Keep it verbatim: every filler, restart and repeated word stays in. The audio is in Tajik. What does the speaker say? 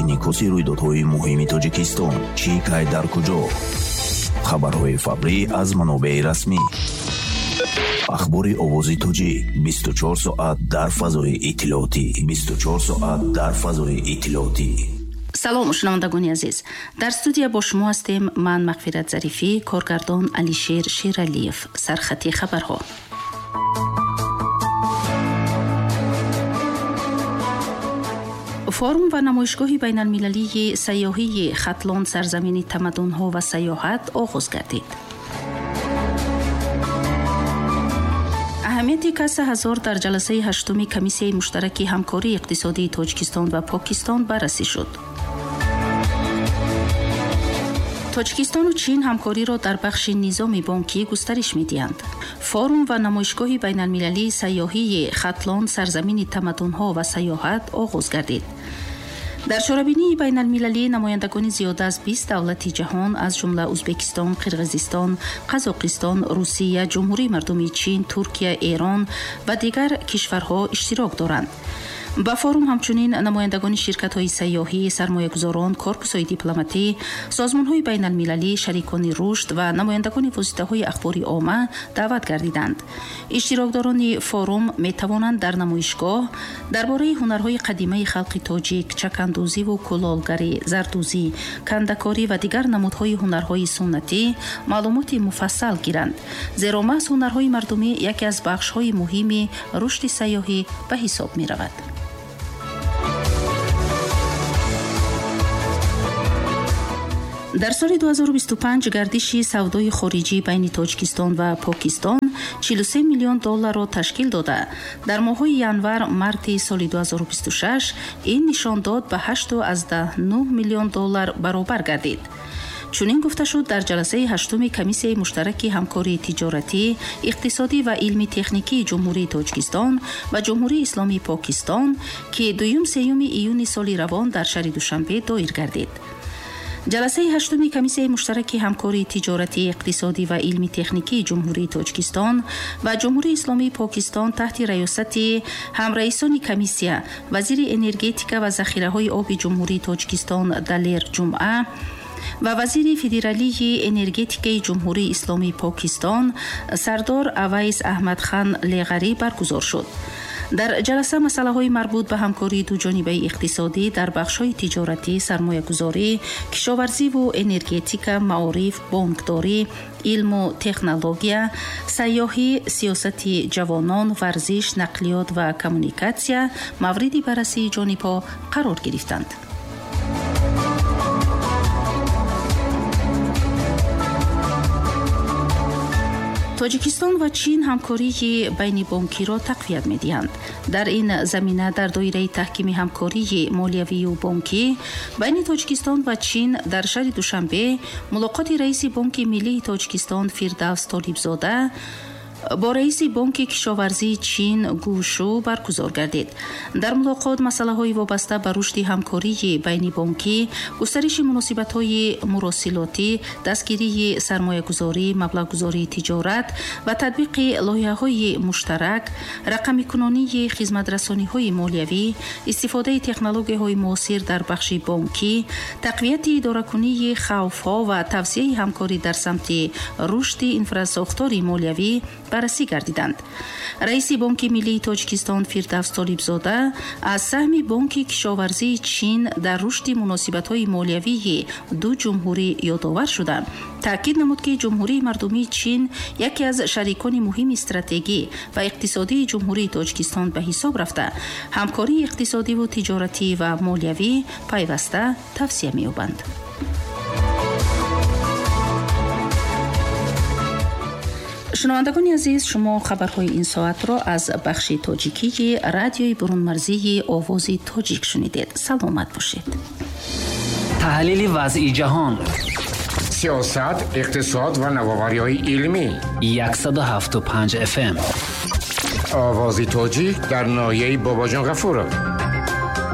Инъикоси рӯйдодҳои муҳими Тоҷикистон чӣ, кай, дар куҷо? Хабарҳои фаврӣ аз манобеи расмӣ. Ахбори Овози Тоҷик бисту чор соат дар фазои иттилоотӣ. бисту чор соат дар фазои иттилоотӣ. Салом, шунавандагони азиз. Дар студия бо шумо ҳастем ман Мағфират Зарифӣ, коргардон Алишер Шералиев. Сархати хабарҳо. Форум ва намоишгоҳи байналмилалии сайёҳии Хатлон сарзамини тамаддунҳо ва сайёҳат оғоз гардид. Аҳамияти каса ҳазор дар ҷаласаи ҳаштуми Комиссияи муштараки ҳамкории иқтисодии Тоҷикистон ва Покистон баррасӣ шуд. Тоҷикистону Чин ҳамкориро дар бахши низоми бонкӣ густариш медиҳанд. Форум ва намоишгоҳи байналмилалии сайёҳии Хатлон сарзамини тамаддунҳо ва сайёҳат оғоз гардид. Дар чорабинии байналмилалӣ намояндагони зиёда аз бист давлати ҷаҳон, аз ҷумла Ӯзбекистон, Қирғизистон, Қазоқистон, Русия, Ҷумҳурии Мардумии Чин, Туркия, Эрон ва дигар кишварҳо иштирок доранд. Ба форум ҳамчунин намояндагони ширкатҳои сайёҳӣ, сармоягузорон, корпусҳои дипломатӣ, созмонҳои байналмилалӣ, шарикони рушд ва намояндагони воситаҳои ахбори омма даъват гардиданд. Иштирокдорони форум метавонанд дар намоишгоҳ дар бораи ҳунарҳои қадимаи халқи тоҷик, чакандӯзиву кулолгарӣ, зардӯзӣ, кандакорӣ ва дигар намудҳои ҳунарҳои суннатӣ маълумоти муфассал гиранд. Зеро маҳз ҳунарҳои мардумӣ яке аз бахшҳои муҳими рушди сайёҳӣ ба ҳисоб меравад. Дар соли ду ҳазору бисту панҷ гардиши савдои хориҷӣ байни Тоҷикистон ва Покистон чилу се миллион долларро ташкил дода. Дар моҳҳои январ-марти соли ду ҳазору бисту шаш ин нишондод ба ҳашту аз даҳ нӯҳ миллион доллар баробар гардид. Чунин гуфта шуд дар ҷаласаи ҳаштуми Комиссияи муштараки ҳамкории тиҷоратӣ, иқтисодӣ ва илми-техникии Ҷумҳурии Тоҷикистон ва Ҷумҳурии Исломии Покистон, ки дуюм-сеюми июни соли равон дар шаҳри Душанбе доир гардид. Ҷаласаи ҳаштуми Комиссияи муштараки ҳамкории тиҷоратӣ, иқтисодӣ ва илми-техникии Ҷумҳурии Тоҷикистон ва Ҷумҳурии Исломии Покистон таҳти раёсати ҳамраисони комиссия, вазири энергетика ва захираҳои оби Ҷумҳурии Тоҷикистон Далер Ҷумъа ва вазири федералии энергетикаи Ҷумҳурии Исломии Покистон Сардор Авайс Аҳмадхан Леғарӣ баргузор шуд. Дар ҷаласа масъалаҳои марбут ба ҳамкории дуҷонибаи иқтисодӣ дар бахшҳои тиҷоратӣ, сармоягузорӣ, кишоварзиву энергетика, маориф, бонкдорӣ, илму технология, сайёҳӣ, сиёсати ҷавонон, варзиш, нақлиёт ва коммуникатсия мавриди баррасии ҷонибҳо қарор гирифтанд. Тоҷикистон ва Чин ҳамкории байнибонкиро тақвият медиҳанд. Дар ин замина дар доираи таҳкими ҳамкории молиявию бонкӣ байни Тоҷикистон ва Чин дар шаҳри Душанбе мулоқоти раиси Бонки Миллии Тоҷикистон Фирдавс Толибзода бо раиси Бонки кишоварзии Чин Гушу баргузор гардид. Дар мулоқот масъалаҳои вобаста ба рушди ҳамкории байнибонкӣ, густариши муносибатҳои муросилотӣ, дастгирии сармоягузорӣ, маблағгузории тиҷорат ва татбиқи лоиҳаҳои муштарак, рақамикунонии хизматрасониҳои молиявӣ, истифодаи технологияҳои муосир дар бахши бонкӣ, тақвияти идоракунии хавфҳо ва тавсияи ҳамкорӣ дар самти рушди инфрасохтори молиявӣ баррасӣ гардиданд. Раиси Бонки Миллии Тоҷикистон Фирдавс Толибзода аз саҳми Бонки кишоварзии Чин дар рушди муносибатҳои молиявии ду ҷумҳурӣ ёдовар шуда, таъкид намуд, ки Ҷумҳурии Мардумии Чин яке аз шарикони муҳими стратегӣ ва иқтисодии Ҷумҳурии Тоҷикистон ба ҳисоб рафта, ҳамкории иқтисодиву тиҷоратӣ ва молиявӣ пайваста тавсия меёбанд. Шунавандагони азиз, шумо хабарҳои ин соатро аз бахши тоҷикии радиои бурунмарзии Овози Тоҷик шунидед. Саломат бошед. Таҳлили вазъи ҷаҳон, сиёсат, иқтисод ва навовариҳои илмӣ. яксаду ҳафту панҷ эф эм. Овози Тоҷик дар ноҳияи Бобоҷон Ғафуров.